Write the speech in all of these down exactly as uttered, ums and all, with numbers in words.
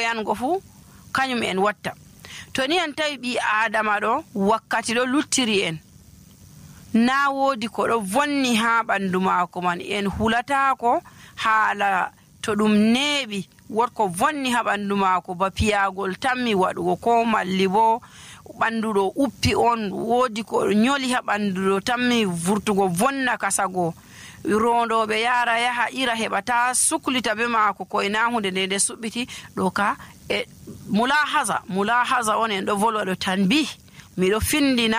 yango fu kanyum en watta. To ni en tawi ɓi adama ɗo wakkati ɗo luttiri en, na wodi ko ɗo vonni ha ɓandu maako man, en hulatako haala to ɗum neeɓi wotko vonni ha ɓandu maako ba piyagol tammi waɗugo, ko malli bo ɓandu ɗo uppi on, wodi ko nyoli ha ɓandu ɗo tammi vurtugo vonna kasago, rondoɓe yara yaha ira heɓata suklita be maako koye na hunde nde nde suɓɓiti ɗo ka e mulahaza mulahaza on en ɗo volwa ɗo tanbih, miɗo findina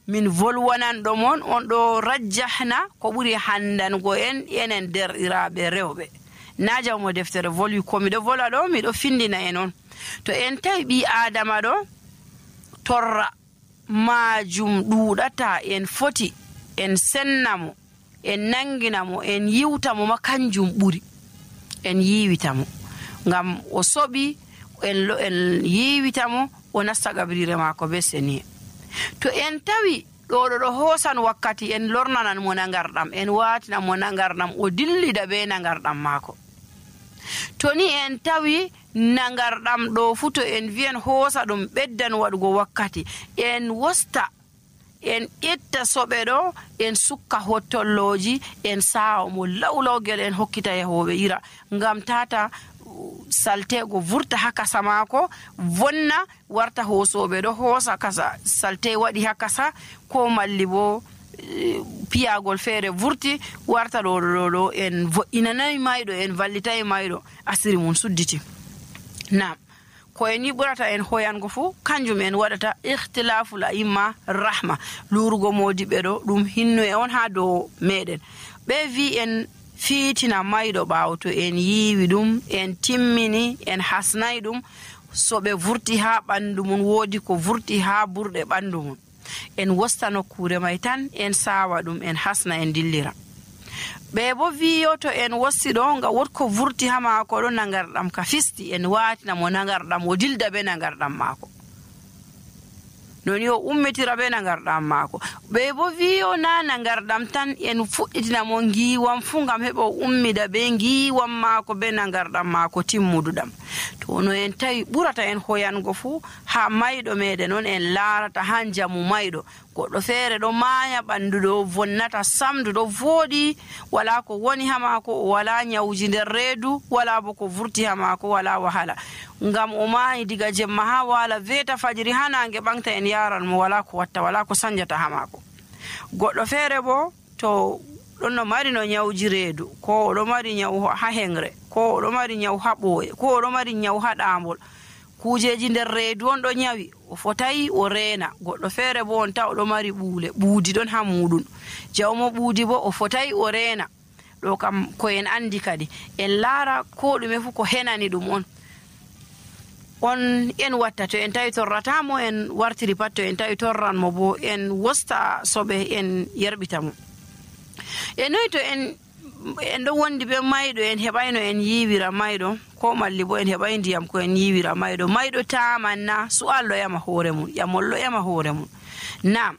min volwanan ɗo mon on ɗo rajjahna ko ɓuri handango en enen derɗiraɓe rewɓe. Na jawmo deftere volwi ko miɗo volwa ɗo miɗo findina en on. To en tawi ɓi adama ɗo torra majum ɗuɗata, en foti en sennamo, en nanginamo, en yiwtamo ma kanjum ɓuri, en yiwitamo ngam o soɓi en, en yiwitamo o nasta gabrire maako be seniye. To en tawi ɗo ɗo ɗo hoosan wakkati en lornanan mo nagarɗam, en watina mo nagarɗam o dillida be nagarɗam maako. To ni en tawi nagarɗam ɗo fu to en wi'en hoosa ɗum ɓeddan waɗugo wakkati, en wosta en ƴetta soɓe ɗo en sukka hottolloji en sawa mo lawlawgel en hokkita yahoɓe ira, ngam tata saltego vurta ha kasa maako vonna warta hoosoɓe ɗo hoosa kasa salte waɗi ha kasa, ko malli bo e, piyagol feere vurti warta ɗo ɗo ɗo en vo'inanayi mayɗo, en vallitayi mayɗo, asiri mum sudditi. Nam ko en yiɓurata en hoyango fu kanjum en waɗata ikhtilaful a'imma rahma, lurugo modiɓe ɗo ɗum hinnu e on ha dow meɗen. Ɓe vi en fiitina mayɗo ɓaawo to en yiiwi ɗum, en timmini, en hasnayi ɗum, so ɓe vurti ha ɓandu mum, woodi ko vurti ha burɗe ɓandu mum, en wosta nokkure may tan en sawa ɗum, en hasna, en dillira. Ɓe bo wiyo to en wosti ɗo nga wotko vurti ha maako ɗo nagarɗam ka fisti, en watina mo nagarɗam o dilda be nagarɗam maako, noni o ummitira be nagarɗam maako. Ɓe bo wiyo na nagarɗam tan, en fuɗɗitina mo ngiwam fu ngam heɓa o ummida be ngiwam maako be nagarɗam maako timmuduɗam. to no en tawi ɓurata en hoyango fu ha mayɗo meɗen on en laarata ha jamu mayɗo, goɗɗo feere ɗo maaya ɓandu ɗo vonnata samdu ɗo vooɗi, wala ko woni ha maako, o wala nyawji nder reedu, wala bo ko vurti ha maako, wala wahala, ngam o maayi diga jemma ha wala veta fajiri ha nange ɓangta en yaran mo, wala ko watta, wala ko sanjata ha maako. Goɗɗo feere bo to ɗon no mari no nyawji reedu, ko oɗo mari nyawu ha hengre, ko oɗo mari nyawu ha ɓooye, ko oɗo mari nyawu ha ɗaambol, kujeji nder reedu on ɗo nyawi, o fotayi o reena. Goɗɗo feere bo on ta oɗo mari ɓuule, ɓuudi ɗon ha muɗum, jawmo ɓuudi bo o fotayi o reena. ɗo kam ko en andi kadi en laara ko ɗume fu ko henani ɗum on on en watta. To en tawi torratamo en wartiri pat, to en tawi torran mo bo en wosta soɓe en yerɓita mo. E noyi to en en ɗo wondi be mayɗo en heɓayno en yiwira mayɗo, ko malli bo en heɓay ndiyam ko en yiwira mayɗo, mayɗo tamanna su'al ɗo yama hoore mum, ƴamol ɗo yama hoore mum. Nam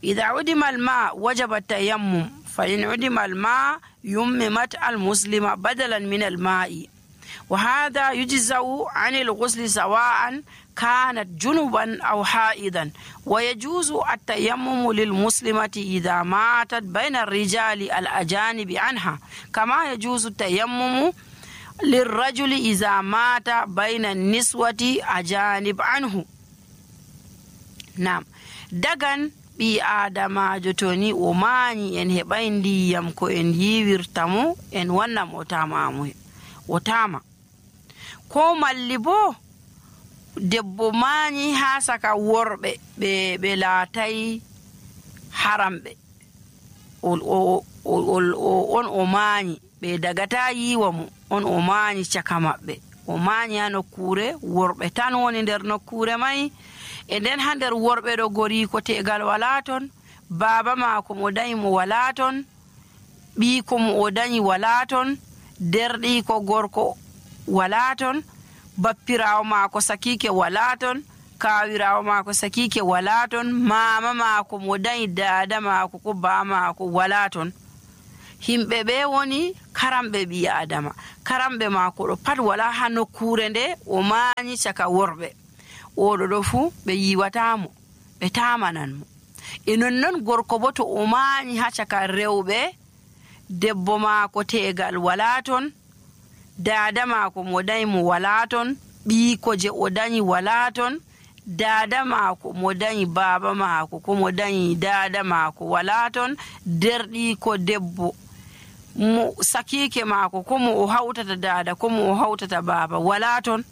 idha udima alma wajaba tayammum fa in udima alma yummimat almuslima badalan min alma'i wa hadha yujza'u 'an al-ghusl sawa'an كانت جنبا أو حائضا ويجوز التيمم للمسلمة إذا ماتت بين الرجال الأجانب عنها كما يجوز التيمم للرجل إذا مات بين النسوة أجانب عنه. نعم دغن ɓi adamajo toni o mañi en heɓay ndiyam ko en yiwirtamo en wannam o tamamu o tama, ko malli bo debbo mañi ha saka worɓe ɓe ɓe laatay haramɓe, on o mañi ɓe dagata yiwa mo, on o mañi caka maɓɓe, o mañi ha nokkure worɓe tan woni nder nokkure may, e nden ha nder worɓe ɗo gori ko tegal wala ton, baba mako mo dañi mo wala ton, ɓiko mo o dañi wala ton, derɗi ko gorko wala ton, bappirawo maako sakike wala ton, kawirawo maako sakike wala ton, mama maako mo dañi dada maako ko ba maako wala ton. himɓe ɓe woni karamɓe ɓi adama. Karamɓe maako ɗo pat wala ha nokkure nde o maanyi caka worɓe. Oɗo ɗo fuu ɓe yiwatamo, ɓe tamanan mo. E nonnon gorko bo to o maanyi ha caka rewɓe, debbo maako tegal wala ton, dada maako mo dañi mo wala ton, ɓiiko je o dañi wala ton, dada maako mo dañi baba maako ko mo dañi dada maako wala ton, derɗiiko debbo mo sakike maako ko mo o hawtata dada ko mo o hawtata baba wala ton.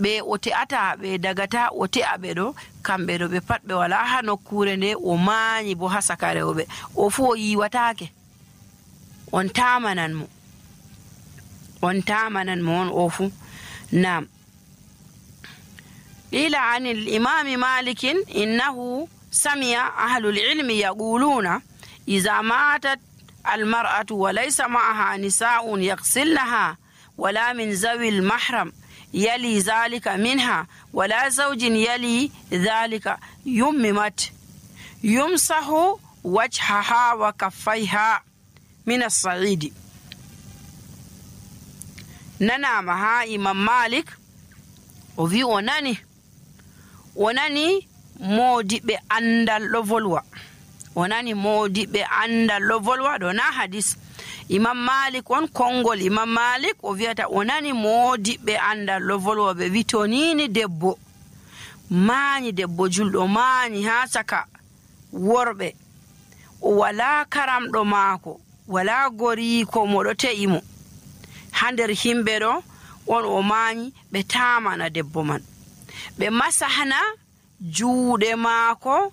Ɓe o te'ata ɓe dagata o te'a ɓe ɗo, kamɓe ɗo ɓe pat ɓe wala ha nokkure nde o maanyi bo ha saka rewɓe. O fu o yiwatake, on tamanan mo, on tamanan mo on o fu. Nam قيل عن الإمام مالك إنه سمع أهل العلم يقولون إذا ماتت المرأة وليس معها نساء يغسلنها ولا من ذوي المحرم يلي ذلك منها ولا زوج يلي ذلك يممت يمسح وجهها وكفيها من الصعيد. ننامها إمام مالك وفي وناني وناني modiɓe andal ɗo volwa, o nani modiɓe andal ɗo volwa ɗo na hadis. Imam Malik on kongol Imam Malik o wi'ata o nani modiɓe andal ɗo volwa ɓe wi to nini debbo maanyi, debbo julɗo maanyi ha caka worɓe, o wala karamɗo maako, wala goriko mo ɗo te'i mo ha nder himɓe ɗo, on o maanyi, ɓe tamana debbo man, ɓe masahna juuɗe maako,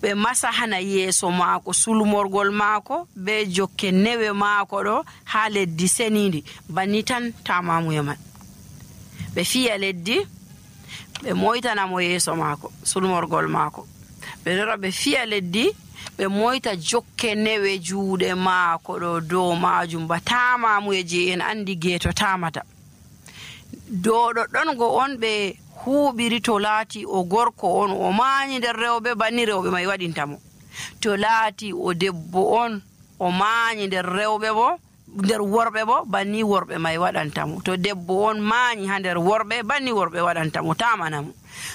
ɓe masahana yeeso maako, sulmorgol maako be jokke newe maako ɗo ha leddi senidi, banni tan tamamuye man. Ɓe fiya leddi, ɓe moytana mo yeeso maako, sulmorgol maako, ɓe lora ɓe fiya leddi, ɓe moyta jokke newe juuɗe maako ɗo dow majum, ba tamamuye je en andi geeto tamata. Dow ɗoɗɗon go on ɓe huuɓiri to laati o gorko on o maanyi nder rewɓe, banni rewɓe may waɗintamo. To laati o debbo on o maanyi nder rewɓe bo, nder worɓe bo, banni worɓe may waɗantamo. To debbo on maanyi ha nder worɓe, banni worɓe waɗantamo, tamanamo.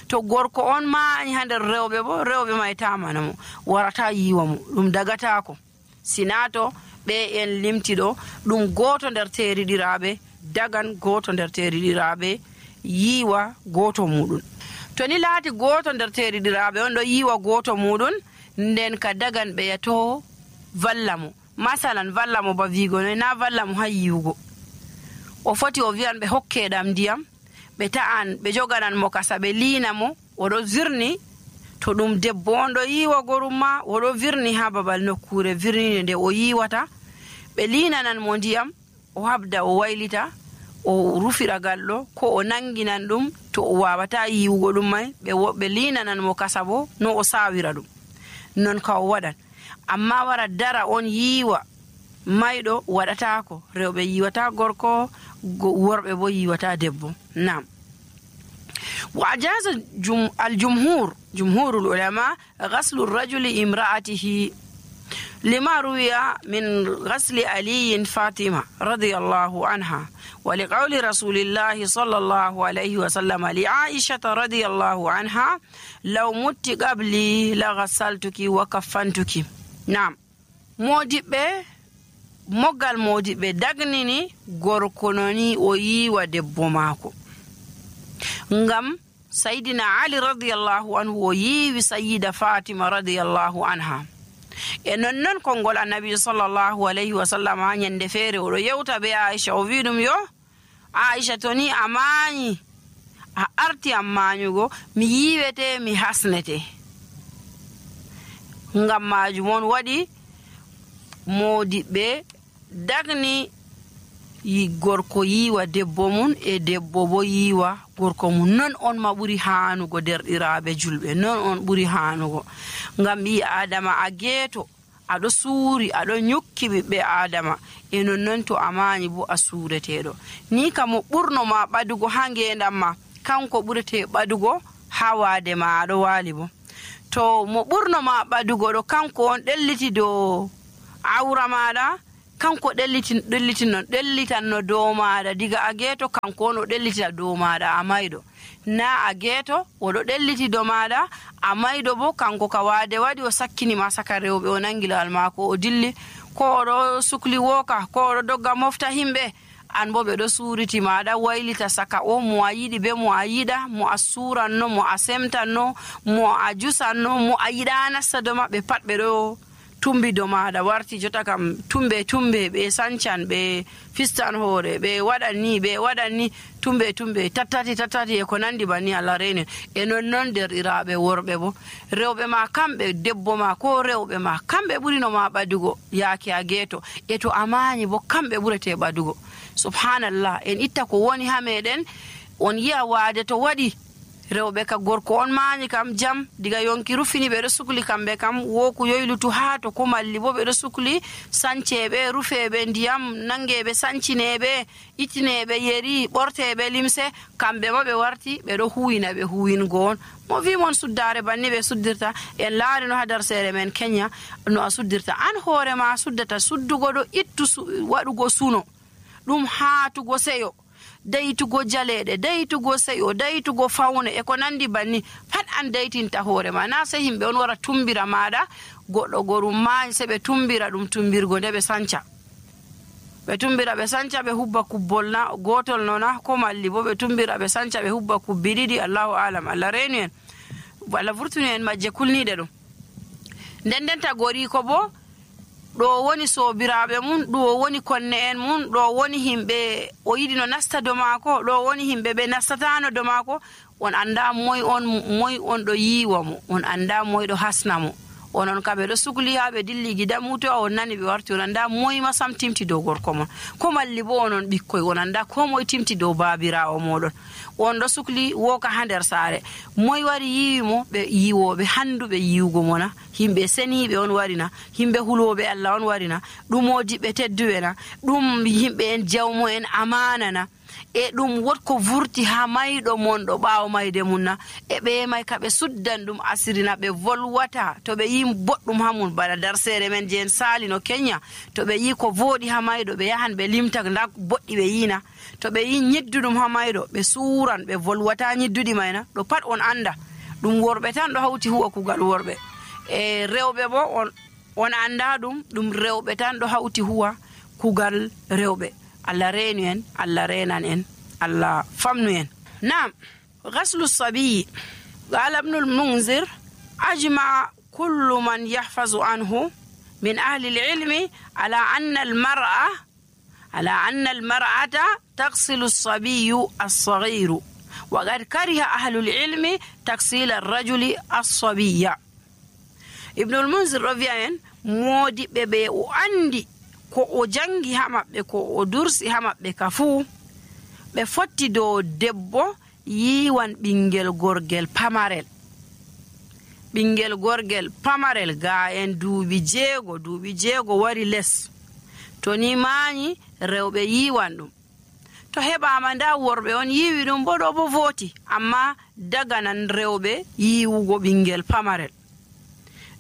To gorko on maanyi ha nder rewɓe bo, rewɓe may tamanamo, warata yiwa mo, ɗum dagatako. Sinato ɓe en limtiɗo ɗum goto nder teriɗiraɓe dagan goto nder teriɗiraɓe yiwa goto muɗum. To ni laati goto nder teriɗiraɓe on ɗo yiwa goto muɗum, nden ka dagan ɓe yato valla mo. Masalan valla mo ba vigo noy, na valla mo ha yiwugo. O foti o wiyan ɓe hokkeɗam ndiyam, ɓe ta'an ɓe joganan mo kasa ɓe liina mo, oɗo virni. To ɗum debbo on ɗo yiwa gorum ma, oɗo virni ha babal nokkure virnide nde o yiwata, ɓe liinanan mo ndiyam, o habda o waylita, o rufira galɗo ko o nanginan ɗum. To o wawata yiwugo ɗum may, ɓe liinanan mo kasa bo no o sawira ɗum, non ka o waɗan. Amma wara dara on yiwa mayɗo, waɗatako. Rewɓe yiwata gorko, worɓe bo yiwata debbo. Nam وأجاز الجمهور جمهور العلماء غسل الرجل امرأته لما روي من غسل علي فاطمة رضي الله عنها، ولقول رسول الله صلى الله عليه وسلم لعائشة رضي الله عنها لو مت قبلي لغسلتك وكفنتك. نعم modiɓɓe moggal modiɓɓe dagnini gorko noni o yiwa debbo maako, ngam sayidina Ali radiyallahu anhu o yiwi sayida Fatima radiyallahu anha. E nonnon konngol annabi sallallahu alayhi wa sallam ha nyande feere oɗo yewta be Aisha, o wi ɗum yo Aisha, to ni a maanyi, a arti am maanyugo, mi yiwete mi hasnete. Ngam majum on waɗi modiɓɓe dagni yi gorko yiwa debbo mum, e debbo bo yiwa gorko mum. Non on ma ɓuri hanugo derɗiraɓe julɓe, non on ɓuri hanugo. Ngam ɓi adama a geeto, aɗo suuri, aɗo nyukki ɓiɓɓe adama, e nonnon to a maanyi bo a suureteɗo. Ni kam mo ɓurno ma ɓadugo ha ngendam ma, kanko ɓurete ɓadugo ha waade ma aɗo waali bo. to mo ɓurno ma ɓadugo ɗo kanko on ɗelliti dow awra maɗa, kanko ɗellitin ɗellitin non ɗellitanno dow maɗa diga a geeto, kanko on o ɗellitita dow maɗa a mayɗo, na a geeto oɗo ɗelliti dow maɗa a mayɗo bo kanko ka waade waɗi o sakkinima saka rewɓe o nangi lawal maako o dilli, ko oɗo sukli wooka, ko oɗo dogga mofta himɓe, an bo ɓe ɗo suuriti maɗa waylita saka o mo a yiɗi be mo a yiɗa, mo a suranno, mo a semtanno, mo a jusanno, mo a yiɗa nasta dow maɓɓe pat ɓe ɗo tumbi dow maɗa. Warti jota kam tumbe tumbe ɓe sancan, ɓe fistan hoore, ɓe waɗan ni ɓe waɗan ni tumbe tumbe tattati tattati e ko nandi banni Allah reni e non non derɗiraɓe worɓe bo rewɓe ma kamɓe debbo ma ko rewɓe ma kamɓe ɓurino ma ɓadugo yaake a geeto, e to amani bo kamɓe ɓurete ɓadugo. Subhanallah, en itta ko woni ha meɗen, on yi'a waade to waɗi rewɓe ka gorko on maani kam jam diga yonki rufini ɓe ɗo sukli kamɓe kam woku yoylutu haa to ko malli bo ɓe ɗo sukli sanceɓe rufeɓe ndiyam nangeɓe sancineɓe ittineɓe yeri ɓorteɓe limse, kamɓe ma ɓe warti ɓe ɗo huwina ɓe huwingo on. Mo wi mon suddare banni ɓe suddirta, en laari no ha darsere men Kenya no a suddirta, an hoore ma suddata suddugo ɗo ittu waɗugo suno ɗum haatugo seyo, daytugo jaleɗe, daytugo seyo, daytugo fawne e ko nandi banni pat an daytinta hoore ma, na sai himɓe on wara tumbira maɗa goɗɗo gorum maani sai ɓe tumbira ɗum tumbirgo nde ɓe sanca ɓe tumbira ɓe sanca ɓe hubba kubbol na gotol nona ko malli bo ɓe tumbira ɓe sanca ɓe hubba kubbi ɗiɗi. Allahu alam, Allah renu en, Allah vurtuni en majje kulniɗe ɗum. nden nden tagori ko bo ɗo woni sobiraɓe mum, ɗo woni konne en mum, ɗo woni himɓe o yiɗi no nasta do maako, ɗo woni himɓe ɓe nastatano do maako, on anda moy on moy on ɗo yiwa mo, on anda moy ɗo hasna mo, onon kam ɓe ɗo sukli ha ɓe dilli gida muto on nani ɓe warti on anda moy ma sam timti dow gorko mon, ko malli bo onon ɓikkoy on anda ko moy timti dow babirawo moɗon, on ɗo sukli woka ha nder saare, moy wari yiwi mo, ɓe yiwoɓe handuɓe yiwugo mona, himɓe seniɓe on warina, himɓe huloɓe Allah on warina, ɗum modiɓɓe tedduɓe na, ɗum himɓe en jawmo en amana na, e ɗum wotko vurti ha mayɗo mon ɗo ɓaawo mayde mum na, e ɓe may ka ɓe suddan ɗum asirina ɓe volwata to ɓe yi boɗɗum ha mum bana darsere men je en sali no Kenya, to ɓe yi ko voɗi ha mayɗo ɓe yahan ɓe limta nda boɗɗi ɓe yina, to ɓe yi nyidduɗum ha mayɗo ɓe suran ɓe volwata nyidduɗi mayna, ɗo pat on anda ɗum worɓe tan ɗo hawti huwa kugal worɓe, e rewɓe bo on on anda ɗum ɗum rewɓe tan ɗo hawti huwa kugal rewɓe. Allah reenu en, Allah renan en, Allah famnu en. Naam, ghaslu sabiyi qala ibnul munzir ajma kullu man yahfazu anhu min ahli al-ilmi ala anna al-mar'a ala anna al-mar'ata taghsilu as-sabiyyu as-saghiru wa qad kariha ahli al-ilmi taghsil ar-rajuli as-sabiyya. Ibnul munzir rawiya en modiɓɓe ɓe o andi ko o jangi ha maɓɓe, ko o dursi ha maɓɓe ka fuu ɓe fotti dow debbo yiwan ɓingel gorgel pamarel, ɓingel gorgel pamarel ga en duuɓi jeego duuɓi jeego wari les, to ni maani rewɓe yiwan ɗum, to heɓama nda worɓe on yiwi ɗum bo ɗo bo voti, amma daganan rewɓe yiwugo ɓingel pamarel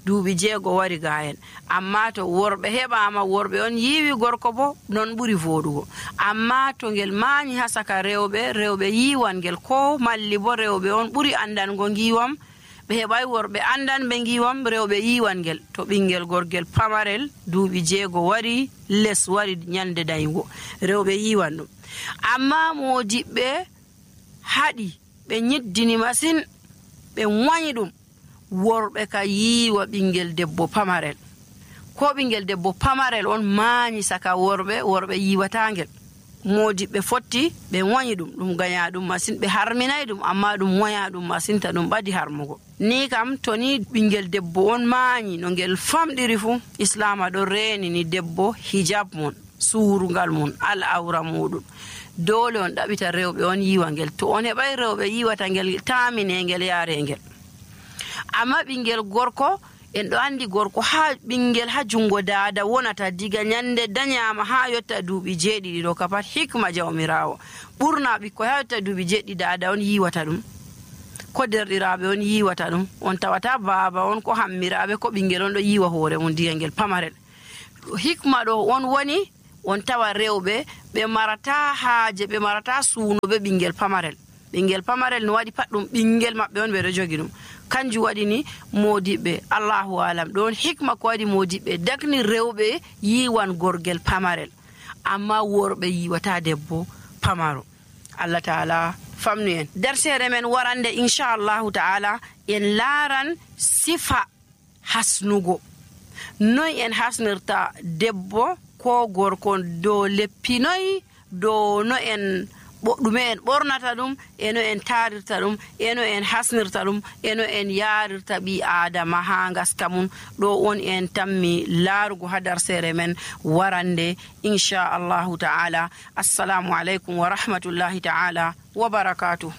duuɓi jeego wari ga en, amma to worɓe heɓama worɓe on yiwi gorko bo non ɓuri voɗugo, amma to ngel maani ha saka rewɓe rewɓe yiwan ngel, ko malli bo rewɓe on ɓuri andango ngiwam, ɓe heɓai worɓe andan ɓe ngiwam, rewɓe yiwan ngel to ɓingel gorgel pamarel duuɓi jeego wari les wari nyande dayugo rewɓe yiwan ɗum, amma modiɓɓe haɗi ɓe nyiddini masin ɓe wañi ɗum, worɓe ka yiwa ɓingel debbo pamarel, ko ɓingel debbo pamarel on maani saka worɓe worɓe yiwatangel, modiɓɓe fotti ɓe wañi ɗum, ɗum gaña ɗum masin, ɓe harminay ɗum amma ɗum waña ɗum masin ta ɗum ɓadi harmugo. Ni kam to ni ɓingel debbo on maani no ngel famɗiri fu, islama ɗo reeni ni debbo hijab mun, suurungal mun, al awra muɗum, dole on ɗaɓita rewɓe on yiwa ngel, to on heɓai rewɓe yiwata ngel tamine ngel yaare ngel. Amma ɓingel gorko en ɗo andi gorko ha ɓingel ha jungo dada wonata diga nyande danyama ha yotta duuɓi jeeɗiɗi ɗo kapat hikma jawmirawo, ɓurna ɓikkoy ha yotta duuɓi jeeɗiɗi dada on yiwata ɗum, ko derɗiraaɓe on yiiwata ɗum. On tawata baaba on ko hammiraaɓe ko ɓingel on ɗo yiiwa hoore mum ndiyam ngel pamarel. Hikma ɗo on woni on tawa rewɓe ɓe marata haaje, ɓe marata suunoɓe ɓingel pamarel. Ɓingel pamarel no waɗi pat ɗum ɓingel maɓɓe on ɓe ɗo jogi ɗum. Kanjum waɗi ni modiɓɓe Allahu alam ɗon hikma ko waɗi modiɓɓe dakni rewɓe yiiwan gorgel pamarel, amma worɓe yiiwata debbo pamaro. Allah taala famnu en. Dersere men warande inchallahu ta'ala en laaran sifa hasnugo. Noy en hasnirta debbo ko gorko dow leppinoy, dow no en ɗume en ɓornata ɗum, eno en tarirta ɗum, eno en hasnirta ɗum, eno en yarirta ɓi adama ha ngaska mum. Ɗo on en tammi laarugo ha darsere men warande inchallahu ta'ala. Assalamu alaikum wa rahmatullahi ta'ala wa barakatuh.